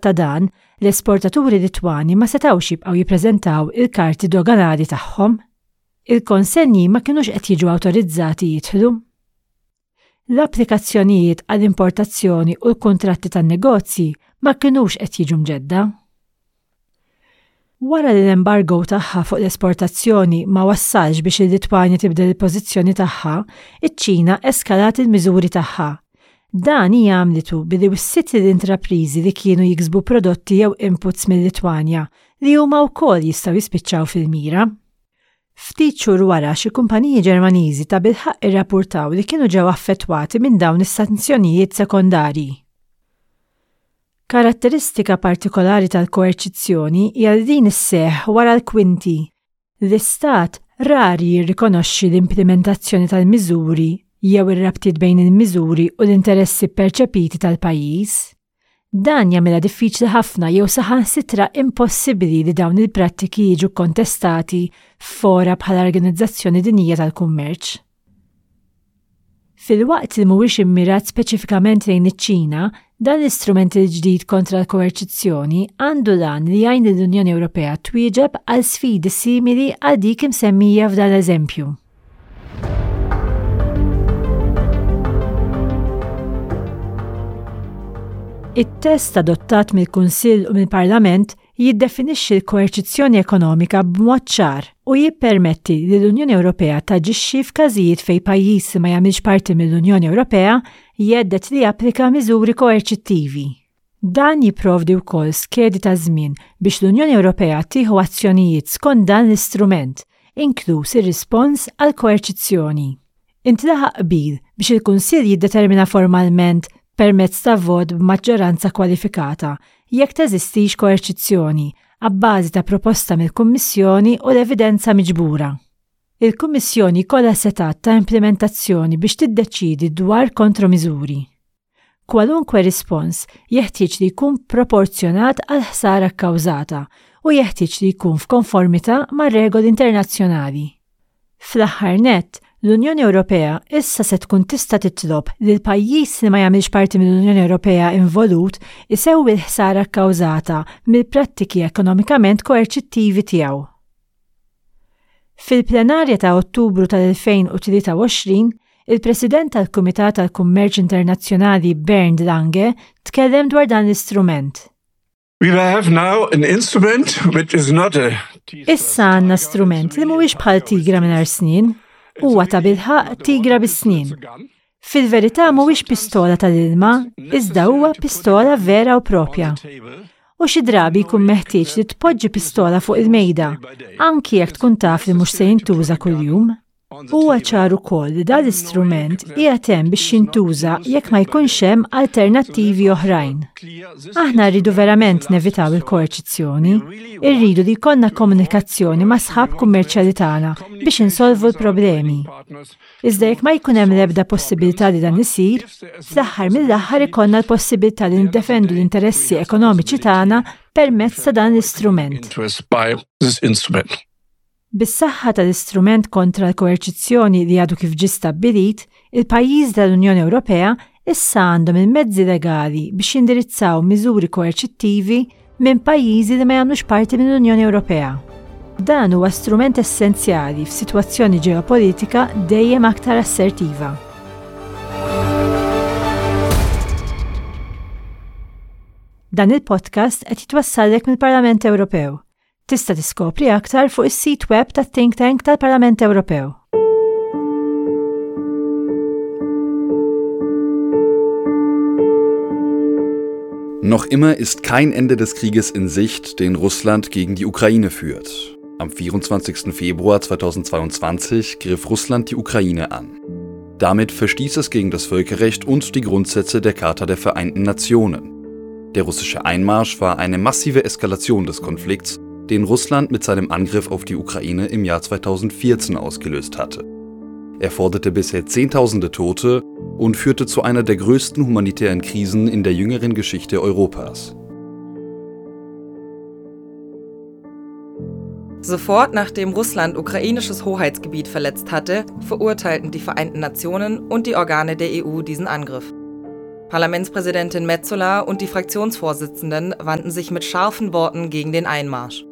ta' dan, l-esportaturi Litwani ma setgħux jibqgħu jippreżentaw il-karti doganali tagħhom. Il-konsenji ma kinux qed jiġu awtorizzati jidħlu. L-applikazzjonijiet għall-importazzjoni u l-kuntratti tan-negozji ma kinux qed jiġu mġedda. Wara li l-embargo tagħha fuq l-esportazzjoni ma wassalx biex il-Litwanja tibdel il-pożizzjoni tagħha, iċ-Ċina eskalat il-miżuri tagħha. Dan hija għamlitu billi wissiet lill-intrapriżi li kienu jiksbu prodotti jew inputs mil-Litwanja li huma wkoll jistgħu jispiċċaw fil-mira. Ftit xhur wara xi kumpaniji Ġermaniżi tabilħaqq irrapurtaw li kienu ġew affettwati minn dawn is-sanzjonijiet sekondarji. Karatteristika partikolari tal-koerċizzjoni hija li din isseħħ wara l-kwinti. L-Istat rari jirrikonoxxi l-implimentazzjoni tal-miżuri jew ir-rabtiet bejn il-miżuri u l-interessi pperċepiti tal-pajjiż. Dan jagħmilha diffiċli ħafna jew saħansitra impossibbli li dawn il-prattiki jiġu kkontestati f'fora bħall-Organizzazzjoni Dinjija tal-Kummerċ. Filwaqt li mhuwiex immirat speċifikament lejn iċ-Ċina, dan l-istrument il-ġdid kontra l-koerċizzjoni għandu l-għan li jgħin lill-Unjoni Ewropea twieġeb għal sfidi simili għal dik imsemmija f'dan l-eżempju. It-test adottat mill-Kunsill u mill-Parlament jiddefinixxi l-koerċizzjoni ekonomika b'mod ċar u jippermetti li l-Unjoni Ewropea taġixxi f'każijiet fejn pajjiż li ma jagħmilx parti mill-Unjoni Ewropea jhedded li japplika miżuri koerċittivi. Dan jipprovdi wkoll skedi ta' żmien biex l-Unjoni Ewropea tieħu azzjonijiet skont dan l-istrument, inkluż ir-rispons għall-koerċizzjoni. Intlaħaq qbil biex il-Kunsill jiddetermina formalment permezz ta' vot b'maġġoranza kwalifikata jekk teżistix koerċizzjoni, abbażi ta' proposta mill-Kummissjoni u l-evidenza miġbura. Il-Kummissjoni jkollha setgħat ta' implimentazzjoni biex tiddeċiedi dwar kontromiżuri. Kwalunkwe rispons jeħtieġ li jkun proporzjonat għall-ħsara kkawżata u jeħtieġ li jkun f'konformità mar-regoli internazzjonali. Fl-aħħar nett, l-Unjoni Ewropea issa se tkun tista' titlob li l-pajjiż li ma jagħmilx parti mill-Unjoni Ewropea involut isewwi l-ħsara kkawżata mill-prattiki ekonomikament koerċittivi tiegħu. Fil-plenarja ta' Ottubru tal-2023, il-President tal-Kumitat għall-Kummerċ Internazzjonali Bernd Lange tkellem dwar dan l-istrument. We have now an instrument which is not a Issa għandna strument li mhuwiex bħal tigra mingħajr snien, huwa tabilħaqq tigra bis-snien. Fil-verità mhuwiex pistola tal-ilma, iżda huwa pistola vera u propja. U xi drabi jkun meħtieġ li tpoġġi pistola fuq il-mejda, anki jekk tkun taf li mhux se jintuża kuljum. Huwa ċar ukoll li dan l-istrument qiegħed hemm biex jintuża jekk ma jkunx hemm alternattivi oħrajn. Aħna rridu verament nevitaw il-koerċizzjoni, irridu li jkollna komunikazzjoni ma' sħab kummerċjali tagħna biex insolvu l-problemi. Iżda jekk ma jkun hemm l-ebda possibilità li dan isir, fl-aħħar mill-aħħar ikollna l-possibilità li niddefendu l-interessi ekonomiċi tagħna permezz ta' dan l-istrument. Bis-saħħa tal-istrument kontra l-koerċizzjoni li għadu kif ġie stabbilit, il-pajjiżi tal-Unjoni Ewropea issa għandhom il-mezzi legali biex jindirizzaw miżuri koerċittivi minn pajjiżi li ma jagħmlux parti mill-Unjoni Ewropea. Dan huwa strument essenzjali f'sitwazzjoni ġeopolitika dejjem aktar assertiva. Dan il-podcast qed jitwassallek mill-Parlament Ewropew. Tista' tiskopri aktar fuq is-sit web tat-Think Tank tal-Parlament Ewropew. Noch immer ist kein Ende des Krieges in Sicht, den Russland gegen die Ukraine führt. Am 24. Februar 2022 griff Russland die Ukraine an. Damit verstieß es gegen das Völkerrecht und die Grundsätze der Charta der Vereinten Nationen. Der russische Einmarsch war eine massive Eskalation des Konflikts, den Russland mit seinem Angriff auf die Ukraine im Jahr 2014 ausgelöst hatte. Er forderte bisher Zehntausende Tote und führte zu einer der größten humanitären Krisen in der jüngeren Geschichte Europas. Sofort nachdem Russland ukrainisches Hoheitsgebiet verletzt hatte, verurteilten die Vereinten Nationen und die Organe der EU diesen Angriff. Parlamentspräsidentin Metsola und die Fraktionsvorsitzenden wandten sich mit scharfen Worten gegen den Einmarsch.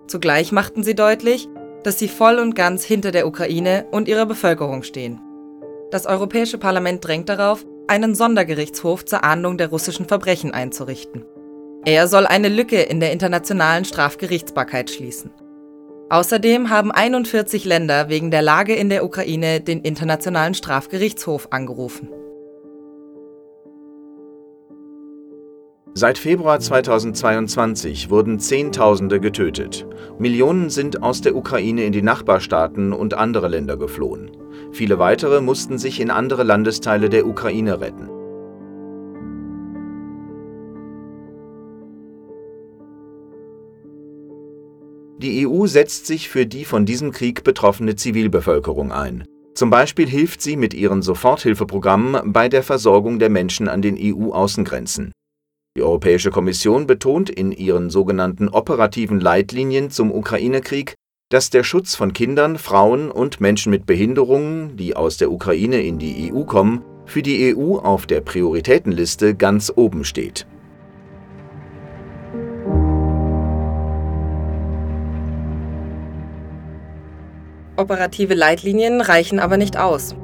Zugleich machten sie deutlich, dass sie voll und ganz hinter der Ukraine und ihrer Bevölkerung stehen. Das Europäische Parlament drängt darauf, einen Sondergerichtshof zur Ahndung der russischen Verbrechen einzurichten. Er soll eine Lücke in der internationalen Strafgerichtsbarkeit schließen. Außerdem haben 41 Länder wegen der Lage in der Ukraine den Internationalen Strafgerichtshof angerufen. Seit Februar 2022 wurden Zehntausende getötet. Millionen sind aus der Ukraine in die Nachbarstaaten und andere Länder geflohen. Viele weitere mussten sich in andere Landesteile der Ukraine retten. Die EU setzt sich für die von diesem Krieg betroffene Zivilbevölkerung ein. Zum Beispiel hilft sie mit ihren Soforthilfeprogrammen bei der Versorgung der Menschen an den EU-Außengrenzen. Die Europäische Kommission betont in ihren sogenannten operativen Leitlinien zum Ukraine-Krieg, dass der Schutz von Kindern, Frauen und Menschen mit Behinderungen, die aus der Ukraine in die EU kommen, für die EU auf der Prioritätenliste ganz oben steht. Operative Leitlinien reichen aber nicht aus.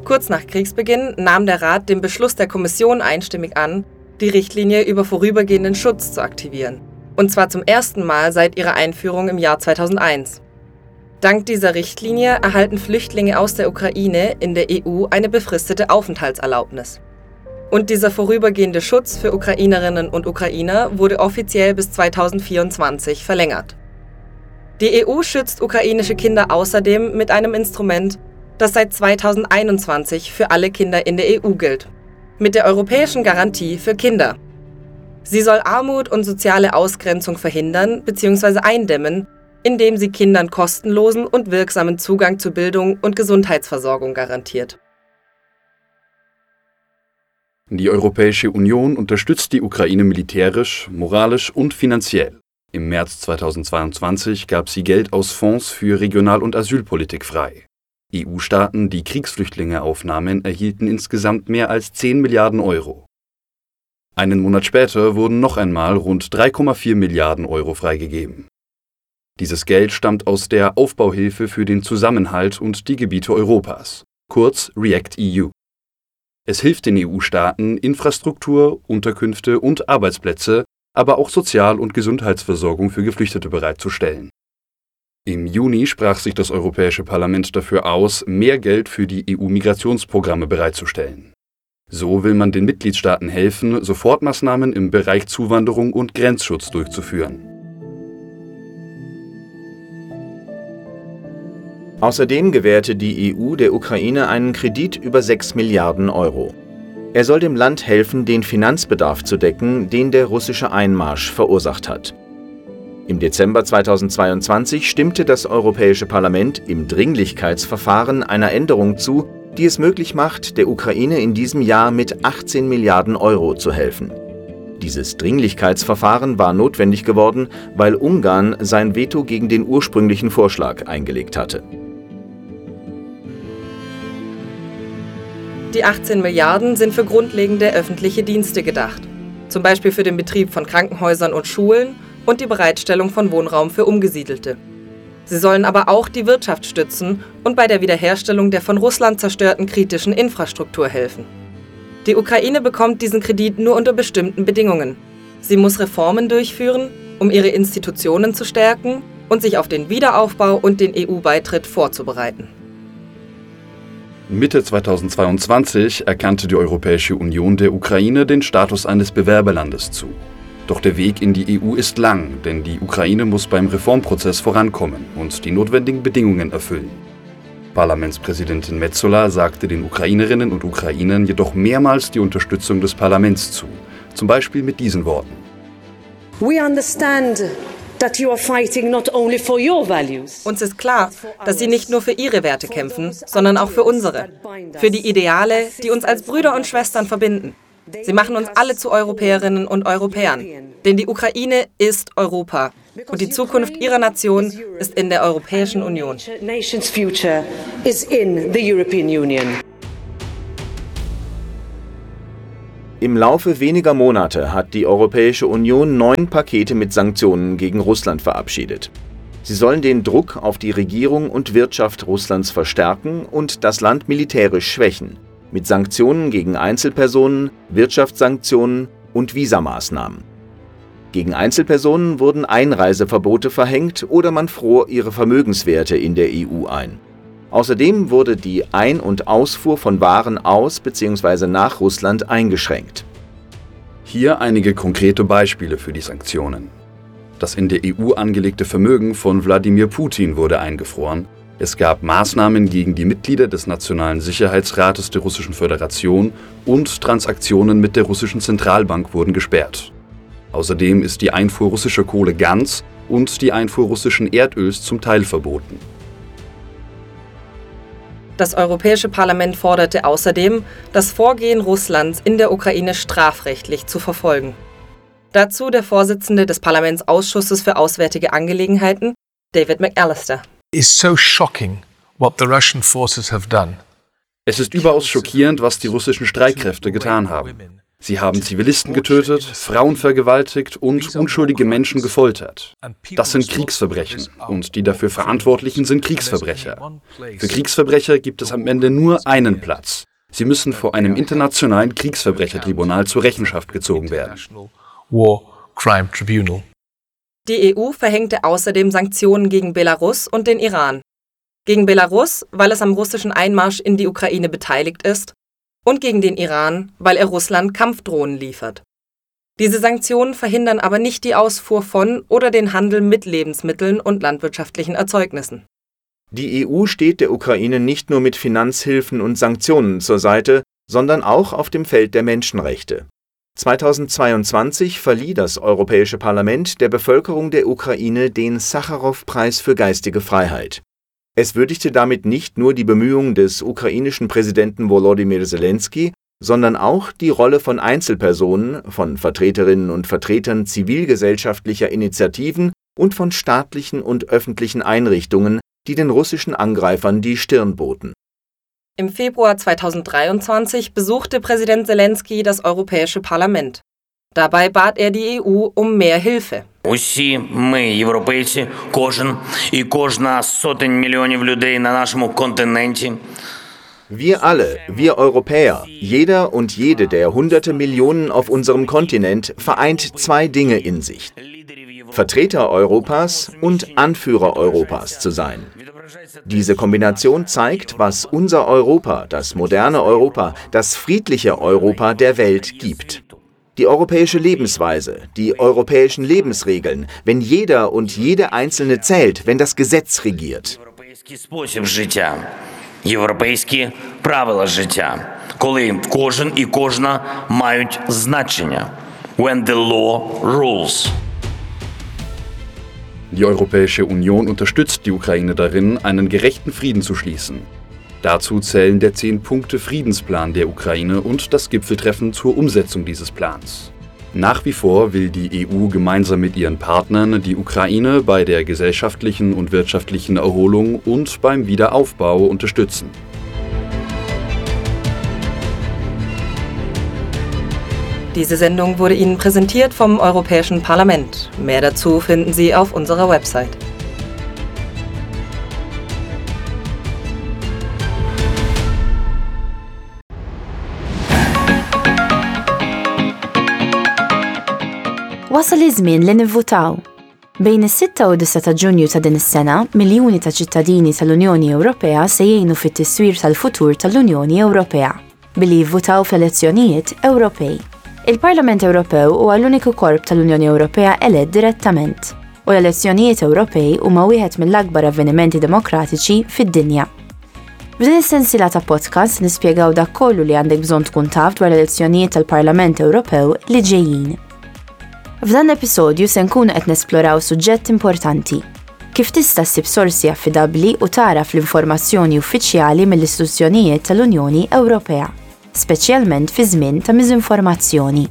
Kurz nach Kriegsbeginn nahm der Rat den Beschluss der Kommission einstimmig an, die Richtlinie über vorübergehenden Schutz zu aktivieren. Und zwar zum ersten Mal seit ihrer Einführung im Jahr 2001. Dank dieser Richtlinie erhalten Flüchtlinge aus der Ukraine in der EU eine befristete Aufenthaltserlaubnis. Und dieser vorübergehende Schutz für Ukrainerinnen und Ukrainer wurde offiziell bis 2024 verlängert. Die EU schützt ukrainische Kinder außerdem mit einem Instrument, das seit 2021 für alle Kinder in der EU gilt. Mit der Europäischen Garantie für Kinder. Sie soll Armut und soziale Ausgrenzung verhindern bzw. eindämmen, indem sie Kindern kostenlosen und wirksamen Zugang zu Bildung und Gesundheitsversorgung garantiert. Die Europäische Union unterstützt die Ukraine militärisch, moralisch und finanziell. Im März 2022 gab sie Geld aus Fonds für Regional- und Asylpolitik frei. EU-Staaten, die Kriegsflüchtlinge aufnahmen, erhielten insgesamt mehr als 10 Milliarden Euro. Einen Monat später wurden noch einmal rund 3,4 Milliarden Euro freigegeben. Dieses Geld stammt aus der Aufbauhilfe für den Zusammenhalt und die Gebiete Europas, kurz REACT-EU. Es hilft den EU-Staaten, Infrastruktur, Unterkünfte und Arbeitsplätze, aber auch Sozial- und Gesundheitsversorgung für Geflüchtete bereitzustellen. Im Juni sprach sich das Europäische Parlament dafür aus, mehr Geld für die EU-Migrationsprogramme bereitzustellen. So will man den Mitgliedstaaten helfen, Sofortmaßnahmen im Bereich Zuwanderung und Grenzschutz durchzuführen. Außerdem gewährte die EU der Ukraine einen Kredit über 6 Milliarden Euro. Er soll dem Land helfen, den Finanzbedarf zu decken, den der russische Einmarsch verursacht hat. Im Dezember 2022 stimmte das Europäische Parlament im Dringlichkeitsverfahren einer Änderung zu, die es möglich macht, der Ukraine in diesem Jahr mit 18 Milliarden Euro zu helfen. Dieses Dringlichkeitsverfahren war notwendig geworden, weil Ungarn sein Veto gegen den ursprünglichen Vorschlag eingelegt hatte. Die 18 Milliarden sind für grundlegende öffentliche Dienste gedacht, zum Beispiel für den Betrieb von Krankenhäusern und Schulen und die Bereitstellung von Wohnraum für Umgesiedelte. Sie sollen aber auch die Wirtschaft stützen und bei der Wiederherstellung der von Russland zerstörten kritischen Infrastruktur helfen. Die Ukraine bekommt diesen Kredit nur unter bestimmten Bedingungen. Sie muss Reformen durchführen, um ihre Institutionen zu stärken und sich auf den Wiederaufbau und den EU-Beitritt vorzubereiten. Mitte 2022 erkannte die Europäische Union der Ukraine den Status eines Bewerberlandes zu. Doch der Weg in die EU ist lang, denn die Ukraine muss beim Reformprozess vorankommen und die notwendigen Bedingungen erfüllen. Parlamentspräsidentin Metsola sagte den Ukrainerinnen und Ukrainern jedoch mehrmals die Unterstützung des Parlaments zu, zum Beispiel mit diesen Worten. We understand that you are fighting not only for your values. Uns ist klar, dass sie nicht nur für ihre Werte kämpfen, sondern auch für unsere, für die Ideale, die uns als Brüder und Schwestern verbinden. Sie machen uns alle zu Europäerinnen und Europäern, denn die Ukraine ist Europa und die Zukunft ihrer Nation ist in der Europäischen Union. Nation's future is in the European Union. Im Laufe weniger Monate hat die Europäische Union neun Pakete mit Sanktionen gegen Russland verabschiedet. Sie sollen den Druck auf die Regierung und Wirtschaft Russlands verstärken und das Land militärisch schwächen, mit Sanktionen gegen Einzelpersonen, Wirtschaftssanktionen und Visamaßnahmen. Gegen Einzelpersonen wurden Einreiseverbote verhängt oder man fror ihre Vermögenswerte in der EU ein. Außerdem wurde die Ein- und Ausfuhr von Waren aus bzw. nach Russland eingeschränkt. Hier einige konkrete Beispiele für die Sanktionen. Das in der EU angelegte Vermögen von Wladimir Putin wurde eingefroren. Es gab Maßnahmen gegen die Mitglieder des Nationalen Sicherheitsrates der Russischen Föderation und Transaktionen mit der russischen Zentralbank wurden gesperrt. Außerdem ist die Einfuhr russischer Kohle ganz und die Einfuhr russischen Erdöls zum Teil verboten. Das Europäische Parlament forderte außerdem, das Vorgehen Russlands in der Ukraine strafrechtlich zu verfolgen. Dazu der Vorsitzende des Parlamentsausschusses für Auswärtige Angelegenheiten, David McAllister. Is so shocking what the Russian forces have done. Es ist überaus schockierend, was die russischen Streitkräfte getan haben. Sie haben Zivilisten getötet, Frauen vergewaltigt und unschuldige Menschen gefoltert. Das sind Kriegsverbrechen und die dafür Verantwortlichen sind Kriegsverbrecher. Für Kriegsverbrecher gibt es am Ende nur einen Platz. Sie müssen vor einem internationalen Kriegsverbrechertribunal zur Rechenschaft gezogen werden. Die EU verhängte außerdem Sanktionen gegen Belarus und den Iran. Gegen Belarus, weil es am russischen Einmarsch in die Ukraine beteiligt ist, und gegen den Iran, weil er Russland Kampfdrohnen liefert. Diese Sanktionen verhindern aber nicht die Ausfuhr von oder den Handel mit Lebensmitteln und landwirtschaftlichen Erzeugnissen. Die EU steht der Ukraine nicht nur mit Finanzhilfen und Sanktionen zur Seite, sondern auch auf dem Feld der Menschenrechte. 2022 verlieh das Europäische Parlament der Bevölkerung der Ukraine den Sacharow-Preis für geistige Freiheit. Es würdigte damit nicht nur die Bemühungen des ukrainischen Präsidenten Volodymyr Zelensky, sondern auch die Rolle von Einzelpersonen, von Vertreterinnen und Vertretern zivilgesellschaftlicher Initiativen und von staatlichen und öffentlichen Einrichtungen, die den russischen Angreifern die Stirn boten. Im Februar 2023 besuchte Präsident Zelensky das Europäische Parlament. Dabei bat er die EU um mehr Hilfe. Усі ми, європейці, кожен і кожна з сотень мільйонів людей на нашому континенті. Wir alle, wir Europäer, jeder und jede der hunderte Millionen auf unserem Kontinent vereint zwei Dinge in sich. Vertreter Europas und Anführer Europas zu sein. Diese Kombination zeigt, was unser Europa, das moderne Europa, das friedliche Europa der Welt gibt. Die europäische Lebensweise, die europäischen Lebensregeln, wenn jeder und jede Einzelne zählt, wenn das Gesetz regiert. Європейський спосіб життя, європейські правила життя, коли кожен і кожна мають значення. When the law rules. Die Europäische Union unterstützt die Ukraine darin, einen gerechten Frieden zu schließen. Dazu zählen der 10-Punkte-Friedensplan der Ukraine und das Gipfeltreffen zur Umsetzung dieses Plans. Nach wie vor will die EU gemeinsam mit ihren Partnern die Ukraine bei der gesellschaftlichen und wirtschaftlichen Erholung und beim Wiederaufbau unterstützen. Diese Sendung wurde Ihnen präsentiert vom Europäischen Parlament. Mehr dazu finden Sie auf unserer Website. Wasal iż-żmien li nivvutaw. Bejn is-6 u 9 ta' Ġunju ta' din is-sena, miljuni ta' ċittadini tal-Unjoni Ewropea se jgħinu fit-tiswir tal-futur tal-Unjoni Ewropea billi jivvutaw fl-elezzjonijiet Ewropej. Il-Parlament Ewropew huwa l-uniku korp tal-Unjoni Ewropea elett direttament u l-elezzjonijiet Ewropej huma wieħed mill-akbar avvenimenti demokratiċi fid-dinja. F'din is-sensiela ta' podcast nispjegaw dak kollu li għandek bżonn tkun taf dwar l-elezzjonijiet tal-Parlament Ewropew li ġejjin. F'dan l-episodju se nkunu qed nesploraw suġġett importanti. Kif tista' ssib sorsi affidabbli u tagħraf l-informazzjoni uffiċjali mill-istituzzjonijiet tal-Unjoni Ewropea, speċjalment fi żmien ta' miżinformazzjoni.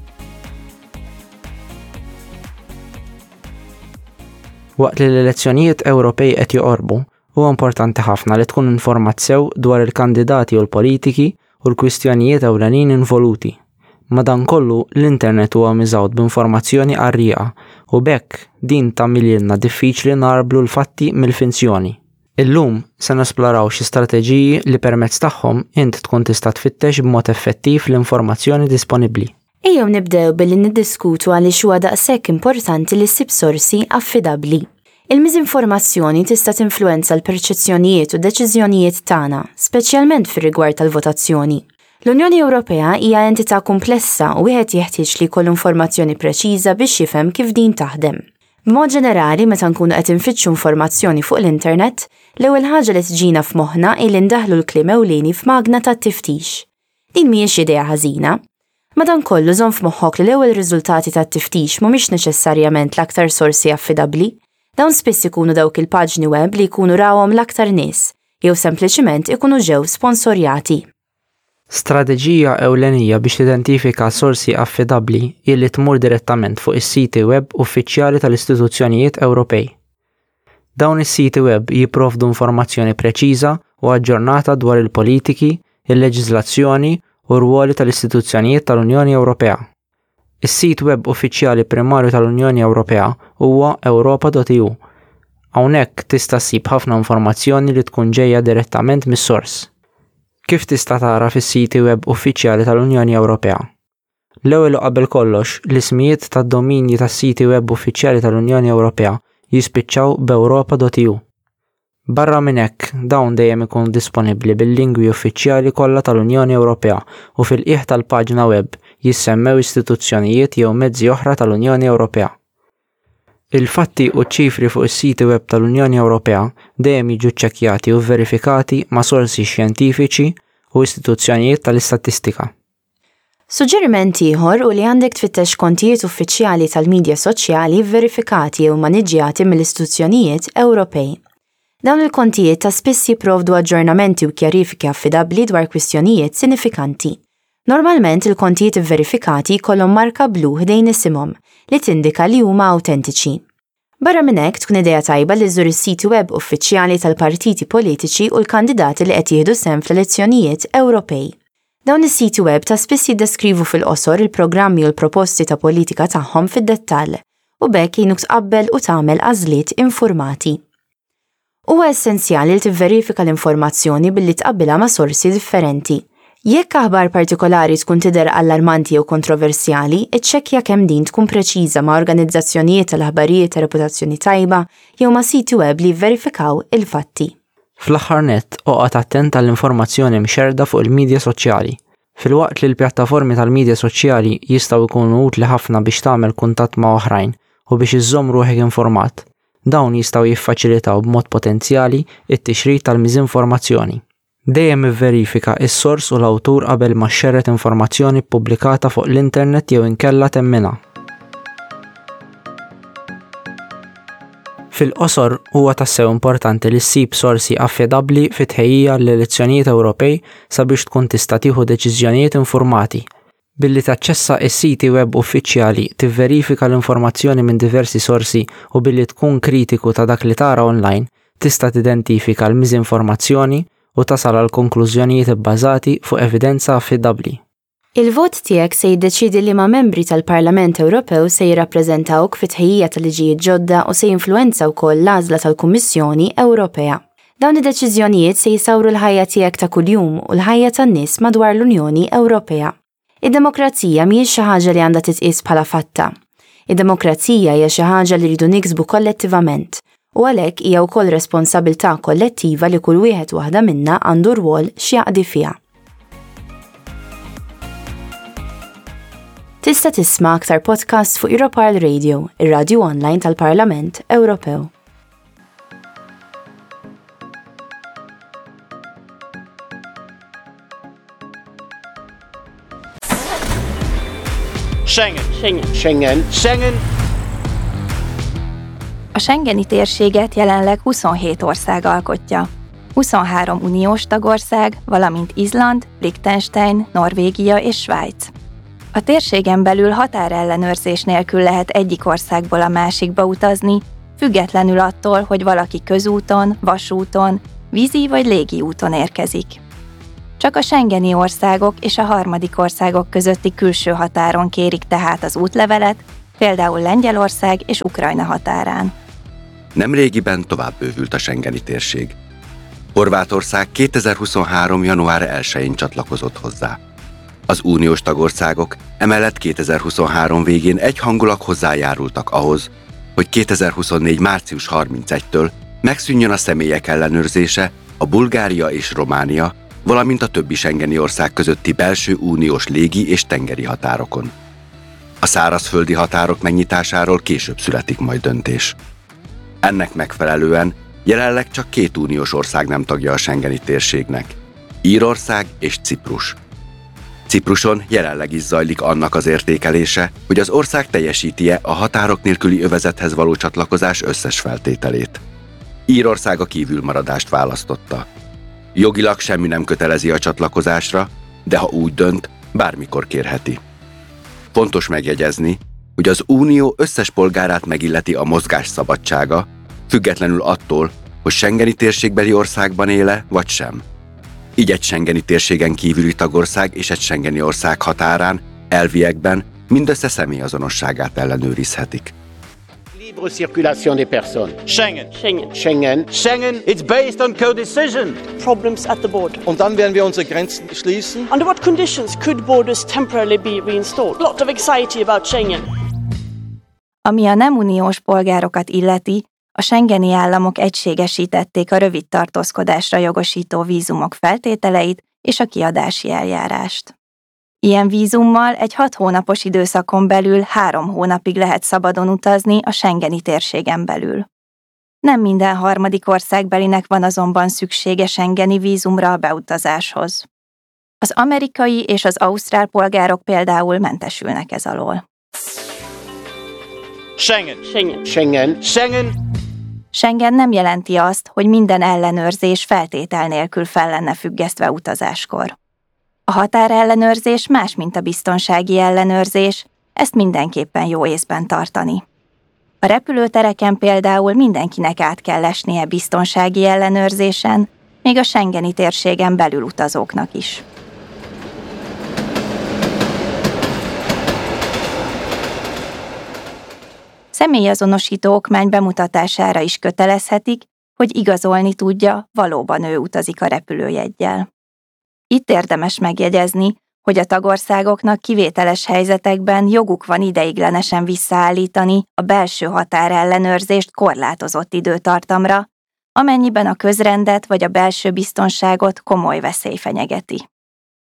Waqt li l-elezzjonijiet Ewropej qed joqorbu, huwa importanti ħafna li tkun informat sew dwar il-kandidati u l-politiki u l-kwistjonijiet ewlenin involuti. Madankollu, l-internet huwa miżgħud b'informazzjoni qarrieqa u b'hekk din tagħmililna diffiċli ngħarblu l-fatti mill-finzjoni. Illum se nesploraw xi strateġiji li permezz tagħhom int tkun tista' tfittex b'mod effettiv l-informazzjoni disponibbli. Ejjew nibdew billi niddiskutu għaliex huwa daqshekk importanti li ssib sorsi affidabbli. Il-miżinformazzjoni tista' tinfluwenza l-perċezzjonijiet u d-deċiżjonijiet tagħna, speċjalment fir-rigward tal-votazzjoni. L-Unjoni Ewropea hija entità kumplessa u wieħed jeħtieġ li jkollu informazzjoni preċiża biex jifhem kif din taħdem. B'mod ġenerali, meta nkunu qed infittxu informazzjoni fuq l-internet, l-ewwel ħaġa li tiġina f'moħħna hi li ndaħħlu l-kliem ewlieni f'magna tat-tiftix. Din mhijiex idea ħażina. Madankollu żomm f'moħħok li l-ewwel riżultati tat-tiftix mhumiex neċessarjament l-aktar sorsi affidabbli. Dawn spiss ikunu dawk il-paġni web li jkunu rawhom l-aktar nies, jew sempliċiment ikunu ġew sponsorjati. Strateġija ewlenija biex tidentifika sorsi affidabbli hi li tmur direttament fuq is-siti web uffiċjali tal-istituzzjonijiet Ewropej. Dawn is-siti web jipprovdu informazzjoni preċiża u aġġornata dwar il-politiki, il-leġiżlazzjoni u r-rwoli tal-istituzzjonijiet tal-Unjoni Ewropea. Is-sit web uffiċjali primarju tal-Unjoni Ewropea huwa europa.eu. Hawnhekk tista' ssib ħafna informazzjoni li tkun ġejja direttament mis-sors. Kif tista' tara fis-siti web uffiċjali tal-Unjoni Ewropea? L-ewwel u qabel kollox, l-ismijiet tad-dominji tas-siti web uffiċjali tal-Unjoni Ewropea jispiċċaw b'europa.eu. Barra minn hekk, dawn dejjem ikunu disponibbli bil-lingwi uffiċjali kollha tal-Unjoni Ewropea u fil-qiegħ tal-paġna web jissemmew istituzzjonijiet jew mezzi oħra tal-Unjoni Ewropea. Il-fatti u ċ-ċifri fuq is-siti web tal-Unjoni Ewropea dejjem jiġu ċċekkjati u vverifikati ma' sorsi xjentifiċi u istituzzjonijiet tal-istatistika. Suġġeriment ieħor hu li għandek tfittex kontijiet uffiċjali tal-midja soċjali vverifikati jew maniġġjati mill-istituzzjonijiet Ewropej. Dawn il-kontijiet ta' spiss jipprovdu aġġornamenti u kjarifiki affidabbli dwar kwistjonijiet sinifikanti. Normalment il-kontijiet ivverifikati jkollhom marka blu ħdejn isimhom li tindika li huma awtentiċi. Barra minn hekk, tkun idea tajba li żżur is-siti web uffiċjali tal-partiti politiċi u l-kandidati li qed jieħdu sehem fl-elezzjonijiet Ewropej. Dawn is-siti web ta' spiss jiddeskrivu fil-qosor il-programmi u l-proposti ta' politika tagħhom fid-dettall, u b'hekk jgħinuk tqabbel u tagħmel għażliet infurmati. Huwa essenzjali li tivverifika l-informazzjoni billi tqabbilha ma' sorsi differenti. Jekk aħbar partikolari tkun tidher allarmanti jew kontroversjali, iċċekkja kemm din tkun preċiża ma' organizzazzjonijiet tal-aħbarijiet ta' reputazzjoni tajba jew ma' siti web li jivverifikaw il-fatti. Fl-aħħar nett, oqgħod attent għall-informazzjoni mxerrda fuq il-midja soċjali. Filwaqt li l-pjattaformi tal-midja soċjali jistgħu jkunu utli ħafna biex tagħmel kuntatt ma' oħrajn u biex iżżomm ruħek informat, Dawn jistgħu jiffaċilitaw b'mod potenzjali t-tixrid tal-miżinformazzjoni. Dejjem ivverifika s-sors u l-awtur qabel ma xxerred informazzjoni ppubblikata fuq l-internet jew inkella temminha. Fil-qosor, huwa tassew importanti li ssib sorsi affidabbli fit-tħejjija għall-elezzjonijiet Ewropej sabiex tkun tista' tieħu deċiżjonijiet infurmati. Billi taċċessa s-siti web uffiċjali, tivverifika l-informazzjoni minn diversi sorsi u billi tkun kritiku ta' dak li tara online, tista' tidentifika l-miżinformazzjoni u tasal għal konklużjonijiet ibbażati fuq evidenza affidabbli. Il-vot tiegħek se jiddeċiedi liema membri tal-Parlament Ewropew se jirrappreżentawk fit-tħejjija ta' liġijiet ġodda u se jinfluwenza wkoll l-għażla tal-Kummissjoni Ewropea. Dawn id-deċiżjonijiet se jsawru l-ħajja tiegħek ta' kuljum u l-ħajja tan-nies madwar l-Unjoni Ewropea. Id-demokrazija mhijiex xi ħaġa li għandha titqies bħala fatta. Id-demokrazija hija xi ħaġa li rridu niksbu kollettivament u għalhekk hija wkoll responsabilità kollettiva li kull wieħed waħda minna għandu rwol x'jaqdi fiha. Tista' tisma' aktar podcasts fuq Europarl Radio, ir-radju online tal-Parlament Ewropew. Schengen. Schengen. Schengen. Schengen. A Schengeni térséget jelenleg 27 ország alkotja. 23 uniós tagország, valamint Izland, Liechtenstein, Norvégia és Svájc. A térségen belül határellenőrzés nélkül lehet egyik országból a másikba utazni, függetlenül attól, hogy valaki közúton, vasúton, vízi vagy légi úton érkezik. Csak a schengeni országok és a harmadik országok közötti külső határon kérik tehát az útlevelet, például Lengyelország és Ukrajna határán. Nemrégiben tovább bővült a schengeni térség. Horvátország 2023. január 1-én csatlakozott hozzá. Az uniós tagországok emellett 2023 végén egyhangulag hozzájárultak ahhoz, hogy 2024. március 31-től megszűnjön a személyek ellenőrzése a Bulgária és Románia, valamint a többi schengeni ország közötti belső uniós légi és tengeri határokon. A szárazföldi határok megnyitásáról később születik majd döntés. Ennek megfelelően jelenleg csak 2 uniós ország nem tagja a schengeni térségnek: Írország és Ciprus. Cipruson jelenleg is zajlik annak az értékelése, hogy az ország teljesíti-e a határok nélküli övezethez való csatlakozás összes feltételét. Írország a kívülmaradást választotta. Jogilag semmi nem kötelezi a csatlakozásra, de ha úgy dönt, bármikor kérheti. Fontos megjegyezni, hogy az unió összes polgárát megilleti a mozgás szabadsága, függetlenül attól, hogy schengeni térségbeli országban éle vagy sem. Így egy schengeni térségen kívüli tagország és egy schengeni ország határán, elviekben mindössze személyazonosságát ellenőrizhetik. Libre circulation des personnes. Schengen. Schengen. Schengen. Schengen. It's based on co-decision. Problems at the border. Und dann werden wir unsere Grenzen schließen. Under what conditions could borders temporarily be reinstalled? Lot of anxiety about Schengen. Ami a nem uniós polgárokat illeti, a schengeni államok egységesítették a rövid tartózkodásra jogosító vízumok feltételeit és a kiadási eljárást. Ilyen vízummal egy 6 hónapos időszakon belül 3 hónapig lehet szabadon utazni a schengeni térségen belül. Nem minden harmadik országbelinek van azonban szüksége schengeni vízumra a beutazáshoz. Az amerikai és az ausztrál polgárok például mentesülnek ez alól. Schengen. Schengen. Schengen. Schengen. Schengen nem jelenti azt, hogy minden ellenőrzés feltétel nélkül fel lenne függesztve utazáskor. A határellenőrzés más, mint a biztonsági ellenőrzés, ezt mindenképpen jó észben tartani. A repülőtereken például mindenkinek át kell esnie biztonsági ellenőrzésen, még a schengeni térségen belül utazóknak is. Személyazonosító okmány bemutatására is kötelezhetik, hogy igazolni tudja, valóban ő utazik a repülőjeggyel. Itt érdemes megjegyezni, hogy a tagországoknak kivételes helyzetekben joguk van ideiglenesen visszaállítani a belső határellenőrzést korlátozott időtartamra, amennyiben a közrendet vagy a belső biztonságot komoly veszély fenyegeti.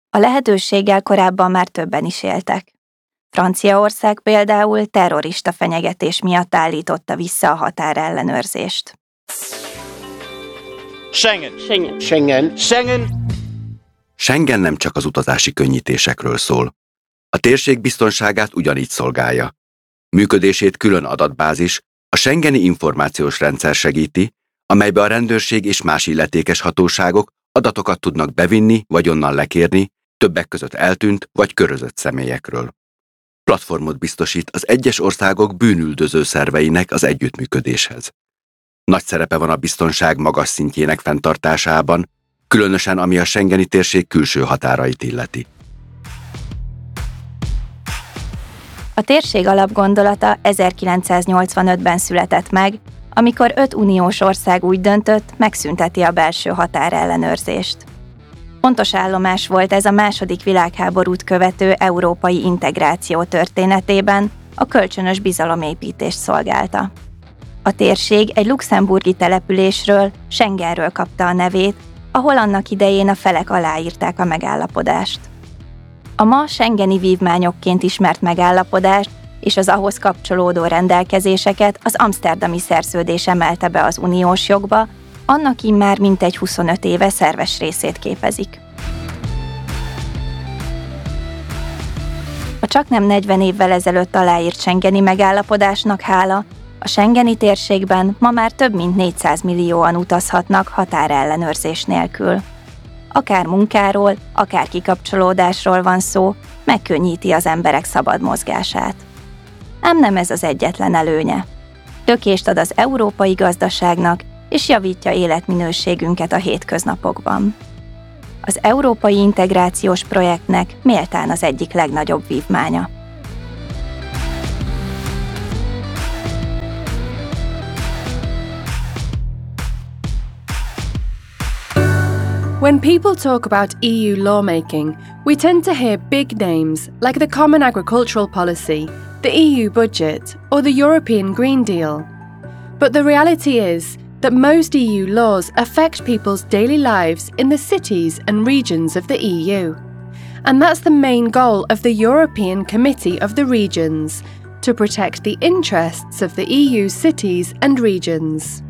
A lehetőséggel korábban már többen is éltek. Franciaország például terrorista fenyegetés miatt állította vissza a határellenőrzést. Schengen. Schengen. Schengen. Schengen. Schengen nem csak az utazási könnyítésekről szól. A térség biztonságát ugyanígy szolgálja. Működését külön adatbázis, a schengeni információs rendszer segíti, amelybe a rendőrség és más illetékes hatóságok adatokat tudnak bevinni vagy onnan lekérni, többek között eltűnt vagy körözött személyekről. Platformot biztosít az egyes országok bűnüldöző szerveinek az együttműködéshez. Nagy szerepe van a biztonság magas szintjének fenntartásában, különösen ami a schengeni térség külső határait illeti. A térség alapgondolata 1985-ben született meg, amikor 5 uniós ország úgy döntött, megszünteti a belső határellenőrzést. Fontos állomás volt ez a második világháborút követő európai integráció történetében, a kölcsönös bizalomépítést szolgálta. A térség egy luxemburgi településről, Schengenről kapta a nevét, ahol annak idején a felek aláírták a megállapodást. A ma schengeni vívmányokként ismert megállapodást és az ahhoz kapcsolódó rendelkezéseket az amszterdami szerződés emelte be az uniós jogba, annak immár mintegy 25 éve szerves részét képezik. A csaknem 40 évvel ezelőtt aláírt schengeni megállapodásnak hála, a schengeni térségben ma már több mint 400 millióan utazhatnak határellenőrzés nélkül. Akár munkáról, akár kikapcsolódásról van szó, megkönnyíti az emberek szabad mozgását. Ám nem ez az egyetlen előnye. Lökést ad az európai gazdaságnak, és javítja életminőségünket a hétköznapokban. Az európai integrációs projektnek méltán az egyik legnagyobb vívmánya. When people talk about EU lawmaking, we tend to hear big names like the Common Agricultural Policy, the EU budget, or the European Green Deal. But the reality is that most EU laws affect people's daily lives in the cities and regions of the EU. And that's the main goal of the European Committee of the Regions to protect the interests of the EU cities and regions.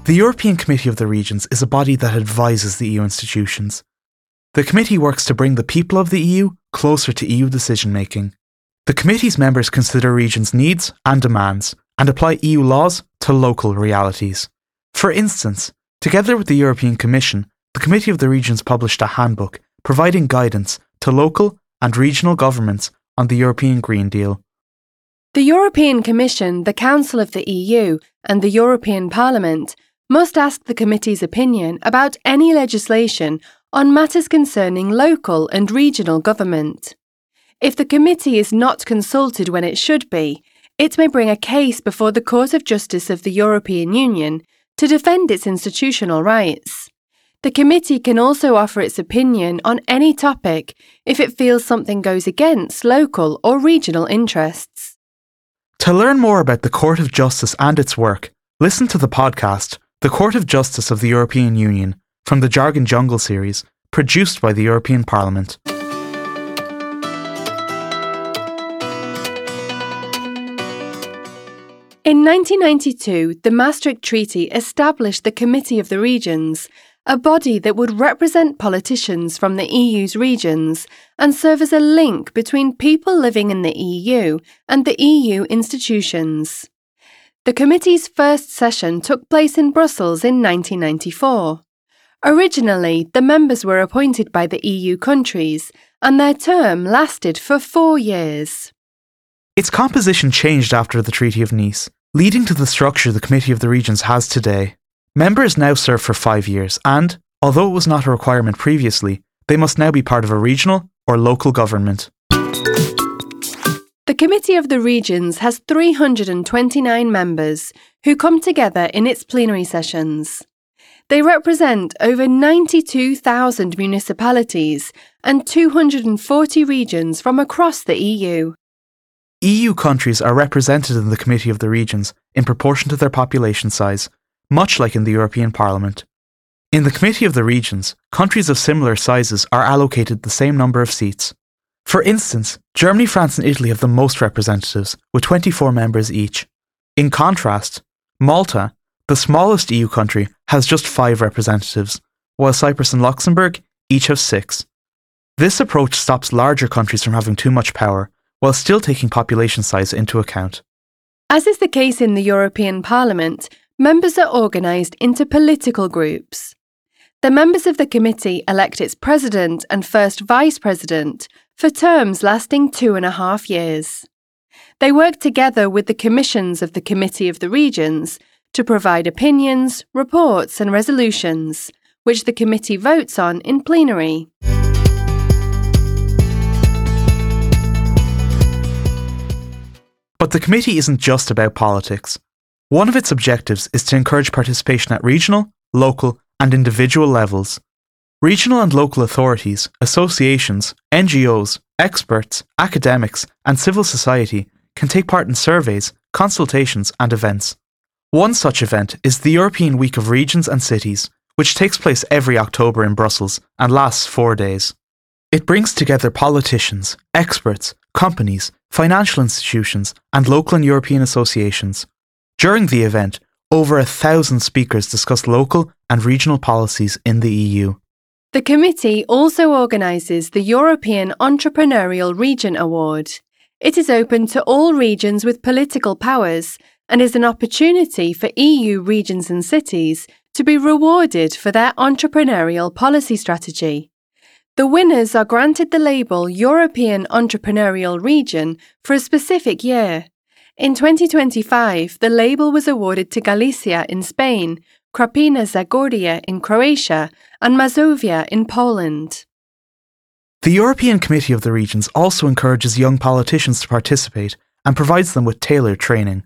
The European Committee of the Regions is a body that advises the EU institutions. The committee works to bring the people of the EU closer to EU decision making. The committee's members consider regions' needs and demands and apply EU laws to local realities. For instance, together with the European Commission, the Committee of the Regions published a handbook providing guidance to local and regional governments on the European Green Deal. The European Commission, the Council of the EU, and the European Parliament must ask the committee's opinion about any legislation on matters concerning local and regional government. If the committee is not consulted when it should be, it may bring a case before the Court of Justice of the European Union to defend its institutional rights. The committee can also offer its opinion on any topic if it feels something goes against local or regional interests. To learn more about the Court of Justice and its work, listen to the podcast, The Court of Justice of the European Union, from the Jargon Jungle series, produced by the European Parliament. In 1992, the Maastricht Treaty established the Committee of the Regions, a body that would represent politicians from the EU's regions and serve as a link between people living in the EU and the EU institutions. The committee's first session took place in Brussels in 1994. Originally, the members were appointed by the EU countries, and their term lasted for four years. Its composition changed after the Treaty of Nice, leading to the structure the Committee of the Regions has today. Members now serve for five years and, although it was not a requirement previously, they must now be part of a regional or local government. The Committee of the Regions has 329 members who come together in its plenary sessions. They represent over 92,000 municipalities and 240 regions from across the EU. EU countries are represented in the Committee of the Regions in proportion to their population size, much like in the European Parliament. In the Committee of the Regions, countries of similar sizes are allocated the same number of seats. For instance, Germany, France, and Italy have the most representatives, with 24 members each. In contrast, Malta, the smallest EU country, has just five representatives, while Cyprus and Luxembourg each have six. This approach stops larger countries from having too much power, while still taking population size into account. As is the case in the European Parliament, members are organised into political groups. The members of the committee elect its president and first vice president for terms lasting two and a half years. They work together with the commissions of the Committee of the Regions to provide opinions, reports, and resolutions, which the committee votes on in plenary. But the committee isn't just about politics. One of its objectives is to encourage participation at regional, local, and individual levels. Regional and local authorities, associations, NGOs, experts, academics, and civil society can take part in surveys, consultations, and events. One such event is the European Week of Regions and Cities, which takes place every October in Brussels and lasts four days. It brings together politicians, experts, companies, financial institutions, and local and European associations. During the event, over a thousand speakers discussed local and regional policies in the EU. The committee also organises the European Entrepreneurial Region Award. It is open to all regions with political powers and is an opportunity for EU regions and cities to be rewarded for their entrepreneurial policy strategy. The winners are granted the label European Entrepreneurial Region for a specific year. In 2025, the label was awarded to Galicia in Spain, Krapina Zagorje in Croatia, and Mazovia in Poland. The European Committee of the Regions also encourages young politicians to participate and provides them with tailored training.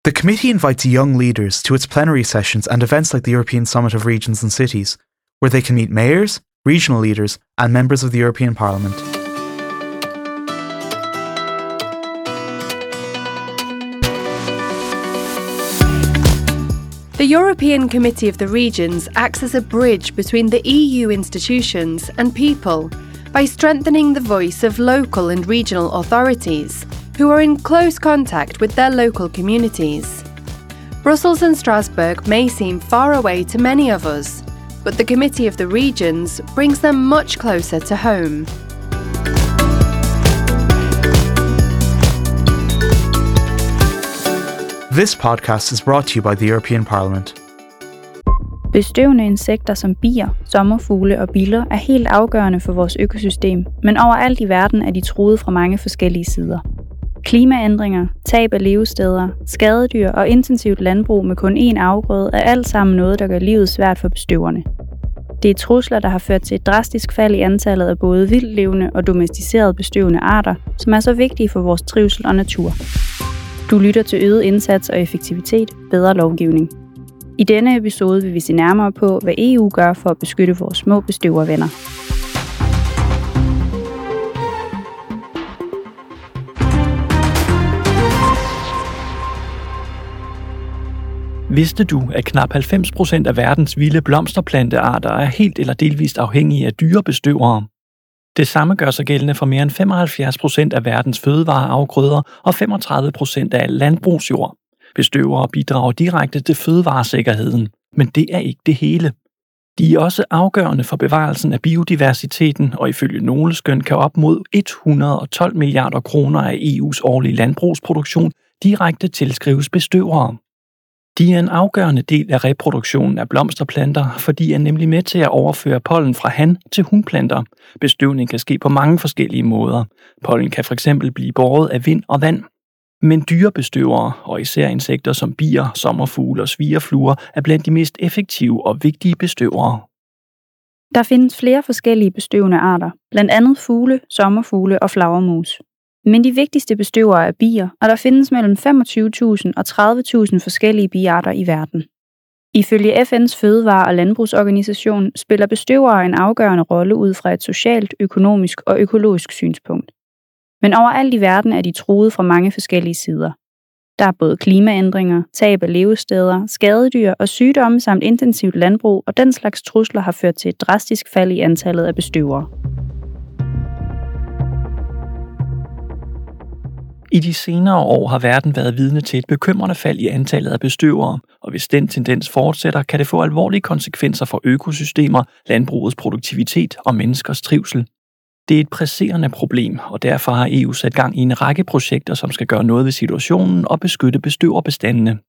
The committee invites young leaders to its plenary sessions and events like the European Summit of Regions and Cities, where they can meet mayors, regional leaders, and members of the European Parliament. The European Committee of the Regions acts as a bridge between the EU institutions and people by strengthening the voice of local and regional authorities who are in close contact with their local communities. Brussels and Strasbourg may seem far away to many of us, but the Committee of the Regions brings them much closer to home. This podcast is brought to you by the European Parliament. Bestøvende insekter som bier, sommerfugle og biller er helt afgørende for vores økosystem, men overalt i verden er de truet fra mange forskellige sider. Klimaændringer, tab af levesteder, skadedyr og intensivt landbrug med kun én afgrøde er alt sammen noget, der gør livet svært for bestøverne. Det er trusler, der har ført til et drastisk fald i antallet af både vildlevende og domesticerede bestøvende arter, som er så vigtige for vores trivsel og natur. Du lytter til øget indsats og effektivitet, bedre lovgivning. I denne episode vil vi se nærmere på, hvad EU gør for at beskytte vores små bestøvervenner. Vidste du, at knap 90% af verdens vilde blomsterplantearter er helt eller delvist afhængige af dyrebestøvere? Det samme gør sig gældende for mere end 75% af verdens fødevareafgrøder og 35% af al landbrugsjord. Bestøvere bidrager direkte til fødevaresikkerheden, men det er ikke det hele. De er også afgørende for bevarelsen af biodiversiteten, og ifølge nogle skøn kan op mod 112 milliarder kroner af EU's årlige landbrugsproduktion direkte tilskrives bestøvere. De er en afgørende del af reproduktionen af blomsterplanter, for de er nemlig med til at overføre pollen fra han til hunplanter. Bestøvning kan ske på mange forskellige måder. Pollen kan fx blive båret af vind og vand. Men dyrebestøvere, og især insekter som bier, sommerfugle og svigerfluer, er blandt de mest effektive og vigtige bestøvere. Der findes flere forskellige bestøvende arter, blandt andet fugle, sommerfugle og flagermus. Men de vigtigste bestøvere er bier, og der findes mellem 25.000 og 30.000 forskellige biarter i verden. Ifølge FN's Fødevare- og Landbrugsorganisation spiller bestøvere en afgørende rolle ud fra et socialt, økonomisk og økologisk synspunkt. Men overalt i verden er de truet fra mange forskellige sider. Der er både klimaændringer, tab af levesteder, skadedyr og sygdomme samt intensivt landbrug, og den slags trusler har ført til et drastisk fald i antallet af bestøvere. I de senere år har verden været vidne til et bekymrende fald i antallet af bestøvere, og hvis den tendens fortsætter, kan det få alvorlige konsekvenser for økosystemer, landbrugets produktivitet og menneskers trivsel. Det er et presserende problem, og derfor har EU sat gang i en række projekter, som skal gøre noget ved situationen og beskytte bestøverbestandene.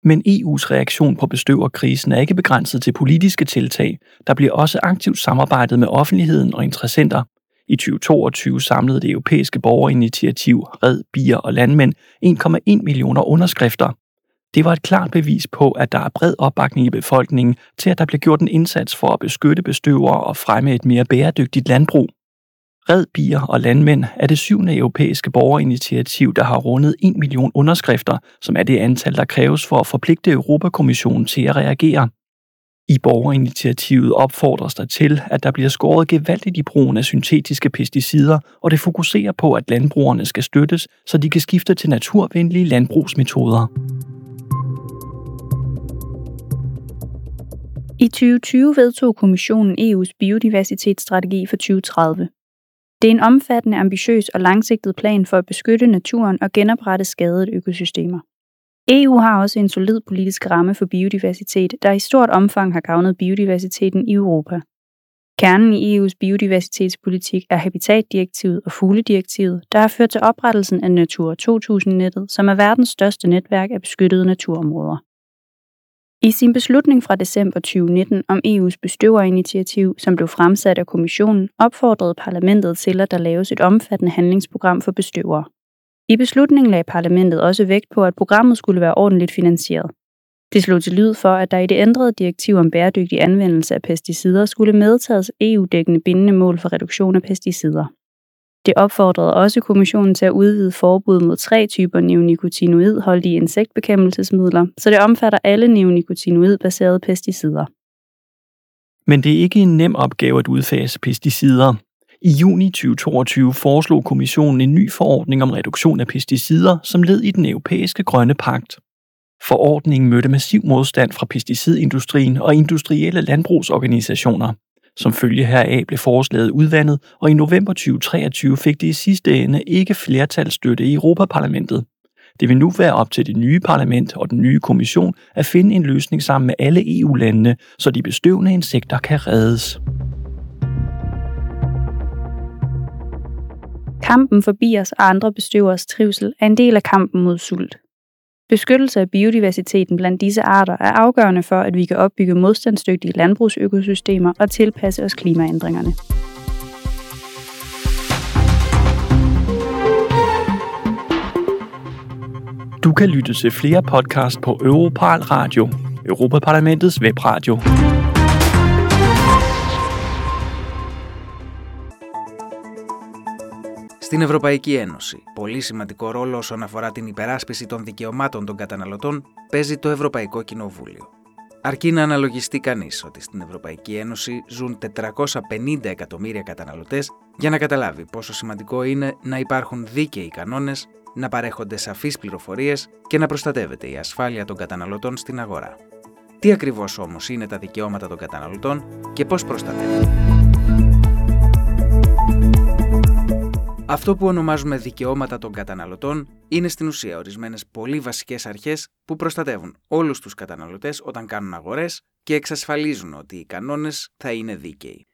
Men EU's reaktion på bestøverkrisen er ikke begrænset til politiske tiltag. Der bliver også aktivt samarbejdet med offentligheden og interessenter. I 2022 samlede det europæiske borgerinitiativ Red Bier og Landmænd 1,1 millioner underskrifter. Det var et klart bevis på, at der er bred opbakning i befolkningen til, at der bliver gjort en indsats for at beskytte bestøvere og fremme et mere bæredygtigt landbrug. Red Bier og Landmænd er det 7. europæiske borgerinitiativ, der har rundet 1 million underskrifter, som er det antal, der kræves for at forpligte Europakommissionen til at reagere. I borgerinitiativet opfordres der til, at der bliver skåret gevaldigt i brugen af syntetiske pesticider, og det fokuserer på, at landbrugerne skal støttes, så de kan skifte til naturvenlige landbrugsmetoder. I 2020 vedtog Kommissionen EU's biodiversitetsstrategi for 2030. Det er en omfattende, ambitiøs og langsigtet plan for at beskytte naturen og genoprette skadede økosystemer. EU har også en solid politisk ramme for biodiversitet, der i stort omfang har gavnet biodiversiteten i Europa. Kernen i EU's biodiversitetspolitik er habitatdirektivet og fugledirektivet, der har ført til oprettelsen af Natura 2000-nettet, som er verdens største netværk af beskyttede naturområder. I sin beslutning fra december 2019 om EU's bestøverinitiativ, som blev fremsat af kommissionen, opfordrede parlamentet til, at der laves et omfattende handlingsprogram for bestøvere. I beslutningen lagde parlamentet også vægt på, at programmet skulle være ordentligt finansieret. Det slog til lyd for, at der i det ændrede direktiv om bæredygtig anvendelse af pesticider skulle medtages EU-dækkende bindende mål for reduktion af pesticider. Det opfordrede også kommissionen til at udvide forbud mod 3 typer neonicotinoidholdige insektbekæmpelsesmidler, så det omfatter alle neonicotinoidbaserede pesticider. Men det er ikke en nem opgave at udfase pesticider. I juni 2022 foreslog kommissionen en ny forordning om reduktion af pesticider som led i den europæiske grønne pagt. Forordningen mødte massiv modstand fra pesticidindustrien og industrielle landbrugsorganisationer. Som følge heraf blev forslaget udvandet, og i november 2023 fik det i sidste ende ikke flertalsstøtte i Europaparlamentet. Det vil nu være op til det nye parlament og den nye kommission at finde en løsning sammen med alle EU-landene, så de bestøvende insekter kan reddes. Kampen for biers og andre bestøveres trivsel er en del af kampen mod sult. Beskyttelse af biodiversiteten blandt disse arter er afgørende for, at vi kan opbygge modstandsdygtige landbrugsøkosystemer og tilpasse os klimaændringerne. Du kan lytte til flere podcast på Europarl Radio, Europaparlamentets webradio. Στην Ευρωπαϊκή Ένωση, πολύ σημαντικό ρόλο όσον αφορά την υπεράσπιση των δικαιωμάτων των καταναλωτών παίζει το Ευρωπαϊκό Κοινοβούλιο. Αρκεί να αναλογιστεί κανείς ότι στην Ευρωπαϊκή Ένωση ζουν 450 εκατομμύρια καταναλωτές για να καταλάβει πόσο σημαντικό είναι να υπάρχουν δίκαιοι κανόνες, να παρέχονται σαφείς πληροφορίες και να προστατεύεται η ασφάλεια των καταναλωτών στην αγορά. Τι ακριβώς όμως είναι τα δικαιώματα των καταναλωτών και πώς προστατεύονται? Αυτό που ονομάζουμε δικαιώματα των καταναλωτών είναι στην ουσία ορισμένες πολύ βασικές αρχές που προστατεύουν όλους τους καταναλωτές όταν κάνουν αγορές και εξασφαλίζουν ότι οι κανόνες θα είναι δίκαιοι.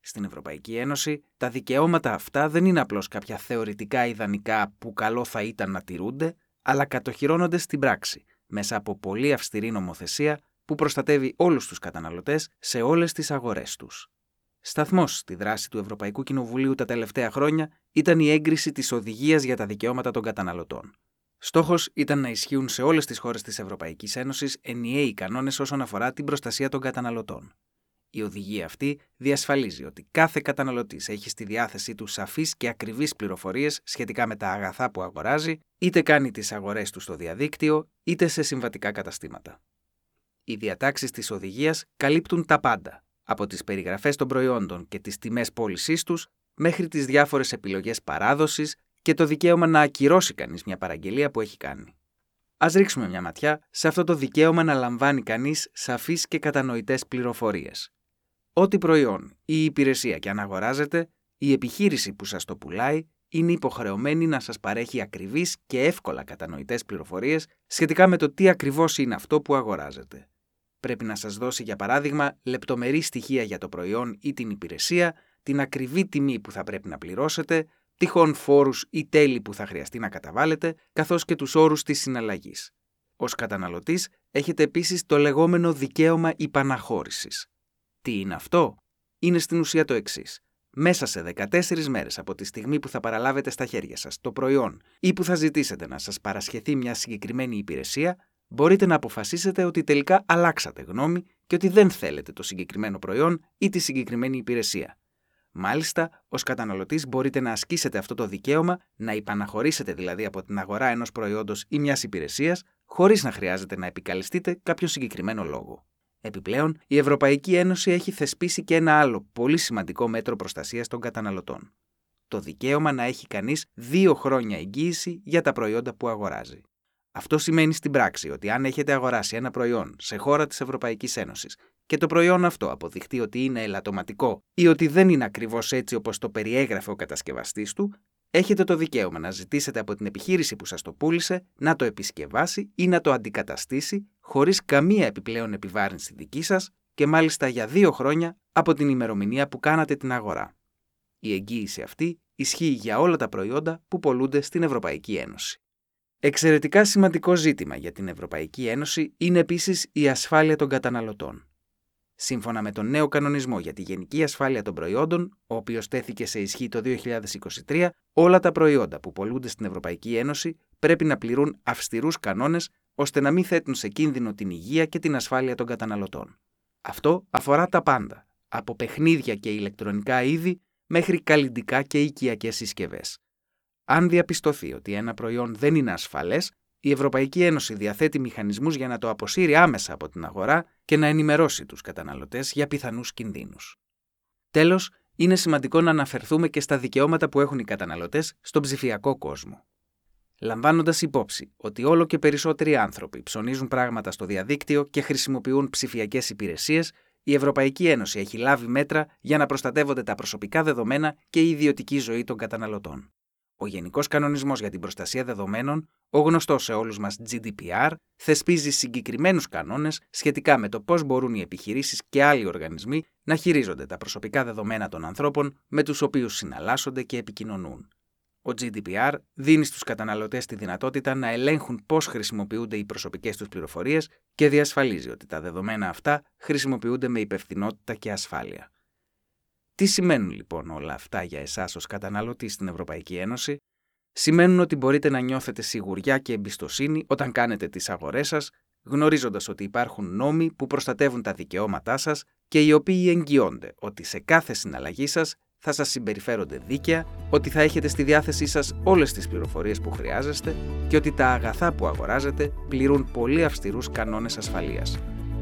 Στην Ευρωπαϊκή Ένωση, τα δικαιώματα αυτά δεν είναι απλώς κάποια θεωρητικά ιδανικά που καλό θα ήταν να τηρούνται, αλλά κατοχυρώνονται στην πράξη, μέσα από πολύ αυστηρή νομοθεσία που προστατεύει όλους τους καταναλωτές σε όλες τις αγορές τους. Σταθμός στη δράση του Ευρωπαϊκού Κοινοβουλίου τα τελευταία χρόνια ήταν η έγκριση της Οδηγίας για τα Δικαιώματα των Καταναλωτών. Στόχος ήταν να ισχύουν σε όλες τις χώρες της Ευρωπαϊκής Ένωσης ενιαίοι κανόνες όσον αφορά την προστασία των καταναλωτών. Η οδηγία αυτή διασφαλίζει ότι κάθε καταναλωτής έχει στη διάθεσή του σαφείς και ακριβείς πληροφορίες σχετικά με τα αγαθά που αγοράζει, είτε κάνει τις αγορές του στο διαδίκτυο, είτε σε συμβατικά καταστήματα. Οι διατάξεις της οδηγίας καλύπτουν τα πάντα, από τις περιγραφές των προϊόντων και τις τιμές πώλησής τους, μέχρι τις διάφορες επιλογές παράδοσης και το δικαίωμα να ακυρώσει κανείς μια παραγγελία που έχει κάνει. Ας ρίξουμε μια ματιά σε αυτό το δικαίωμα να λαμβάνει κανείς σαφείς και κατανοητές πληροφορίες. Ό,τι προϊόν ή υπηρεσία και αν αγοράζετε, η επιχείρηση που σας το πουλάει είναι υποχρεωμένη να σας παρέχει ακριβείς και εύκολα κατανοητές πληροφορίες σχετικά με το τι ακριβώς είναι αυτό που αγοράζετε. Πρέπει να σας δώσει, για παράδειγμα, λεπτομερή στοιχεία για το προϊόν ή την υπηρεσία, την ακριβή τιμή που θα πρέπει να πληρώσετε, τυχόν φόρους ή τέλη που θα χρειαστεί να καταβάλλετε, καθώς και τους όρους της συναλλαγής. Ως καταναλωτής, έχετε επίσης το λεγόμενο δικαίωμα υπαναχώρησης. Τι είναι αυτό? Είναι στην ουσία το εξής. Μέσα σε 14 μέρες από τη στιγμή που θα παραλάβετε στα χέρια σας το προϊόν ή που θα ζητήσετε να σας παρασχεθεί μια συγκεκριμένη υπηρεσία, μπορείτε να αποφασίσετε ότι τελικά αλλάξατε γνώμη και ότι δεν θέλετε το συγκεκριμένο προϊόν ή τη συγκεκριμένη υπηρεσία. Μάλιστα, ως καταναλωτής μπορείτε να ασκήσετε αυτό το δικαίωμα, να υπαναχωρήσετε δηλαδή από την αγορά ενός προϊόντος ή μιας υπηρεσίας, χωρίς να χρειάζεται να επικαλεστείτε κάποιο συγκεκριμένο λόγο. Επιπλέον, η Ευρωπαϊκή Ένωση έχει θεσπίσει και ένα άλλο πολύ σημαντικό μέτρο προστασίας των καταναλωτών. Το δικαίωμα να έχει κανείς 2 χρόνια εγγύηση για τα προϊόντα που αγοράζει. Αυτό σημαίνει στην πράξη ότι αν έχετε αγοράσει ένα προϊόν σε χώρα της Ευρωπαϊκής Ένωσης και το προϊόν αυτό αποδειχτεί ότι είναι ελαττωματικό ή ότι δεν είναι ακριβώς έτσι όπως το περιέγραφε ο κατασκευαστής του, έχετε το δικαίωμα να ζητήσετε από την επιχείρηση που σας το πούλησε να το επισκευάσει ή να το αντικαταστήσει χωρίς καμία επιπλέον επιβάρυνση δική σας και μάλιστα για 2 χρόνια από την ημερομηνία που κάνατε την αγορά. Η εγγύηση αυτή ισχύει για όλα τα προϊόντα που πωλούνται στην Ευρωπαϊκή Ένωση. Εξαιρετικά σημαντικό ζήτημα για την Ευρωπαϊκή Ένωση είναι επίσης η ασφάλεια των καταναλωτών. Σύμφωνα με τον νέο κανονισμό για τη γενική ασφάλεια των προϊόντων, ο οποίος τέθηκε σε ισχύ το 2023, όλα τα προϊόντα που πωλούνται στην Ευρωπαϊκή Ένωση πρέπει να πληρούν αυστηρούς κανόνες ώστε να μην θέτουν σε κίνδυνο την υγεία και την ασφάλεια των καταναλωτών. Αυτό αφορά τα πάντα, από παιχνίδια και ηλεκτρονικά είδη μέχρι καλλυντικά και οικιακές συσκευές. Αν διαπιστωθεί ότι ένα προϊόν δεν είναι ασφαλές, η Ευρωπαϊκή Ένωση διαθέτει μηχανισμούς για να το αποσύρει άμεσα από την αγορά και να ενημερώσει τους καταναλωτές για πιθανούς κινδύνους. Τέλος, είναι σημαντικό να αναφερθούμε και στα δικαιώματα που έχουν οι καταναλωτές στον ψηφιακό κόσμο. Λαμβάνοντας υπόψη ότι όλο και περισσότεροι άνθρωποι ψωνίζουν πράγματα στο διαδίκτυο και χρησιμοποιούν ψηφιακές υπηρεσίες, η Ευρωπαϊκή Ένωση έχει λάβει μέτρα για να προστατεύονται τα προσωπικά δεδομένα και η ιδιωτική ζωή των καταναλωτών. Ο Γενικός Κανονισμός για την Προστασία Δεδομένων, ο γνωστός σε όλους μας GDPR, θεσπίζει συγκεκριμένους κανόνες σχετικά με το πώς μπορούν οι επιχειρήσεις και άλλοι οργανισμοί να χειρίζονται τα προσωπικά δεδομένα των ανθρώπων με τους οποίους συναλλάσσονται και επικοινωνούν. Ο GDPR δίνει στους καταναλωτές τη δυνατότητα να ελέγχουν πώς χρησιμοποιούνται οι προσωπικές τους πληροφορίες και διασφαλίζει ότι τα δεδομένα αυτά χρησιμοποιούνται με υπευθυνότητα και ασφάλεια. Τι σημαίνουν λοιπόν όλα αυτά για εσάς ως καταναλωτή στην Ευρωπαϊκή Ένωση? Σημαίνουν ότι μπορείτε να νιώθετε σιγουριά και εμπιστοσύνη όταν κάνετε τις αγορές σας, γνωρίζοντας ότι υπάρχουν νόμοι που προστατεύουν τα δικαιώματά σας και οι οποίοι εγγυώνται ότι σε κάθε συναλλαγή σας θα σας συμπεριφέρονται δίκαια, ότι θα έχετε στη διάθεσή σας όλες τις πληροφορίες που χρειάζεστε και ότι τα αγαθά που αγοράζετε πληρούν πολύ αυστηρούς κανόνες ασφαλείας.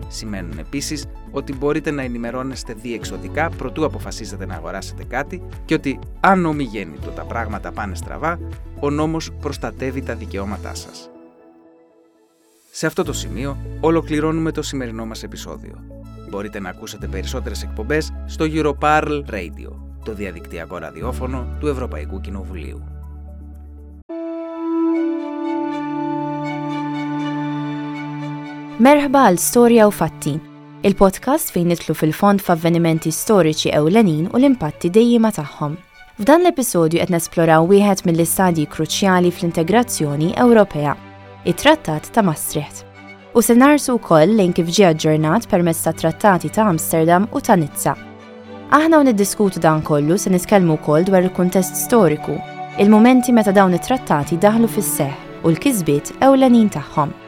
Σημαίνουν επίσης ότι μπορείτε να ενημερώνεστε διεξοδικά προτού αποφασίζετε να αγοράσετε κάτι και ότι αν ομιγέννητο τα πράγματα πάνε στραβά, ο νόμος προστατεύει τα δικαιώματά σας. Σε αυτό το σημείο ολοκληρώνουμε το σημερινό μας επεισόδιο. Μπορείτε να ακούσετε περισσότερες εκπομπές στο Europarl Radio, το διαδικτυακό ραδιόφωνο του Ευρωπαϊκού Κοινοβουλίου. Merħba għal Storja u Fatti, il-podcast fejn nidħlu fil-fond f'avvenimenti storiċi ewlenin u l-impatti dejjiema tagħhom. F'dan l-episodju qed nesploraw wieħed mill-istadji kruċjali fl-integrazzjoni Ewropea, it-Trattat ta' Maastricht. U se nharsu wkoll lejn kif ġie aġġornat permezz tat-Trattati ta' Amsterdam u ta' Nizza. Aħna u niddiskutu dan kollu se nitkellmu wkoll dwar il-kuntest storiku, il-mumenti meta dawn it-trattati daħlu fis-seħħ u l-kisbiet ewlenin tagħhom.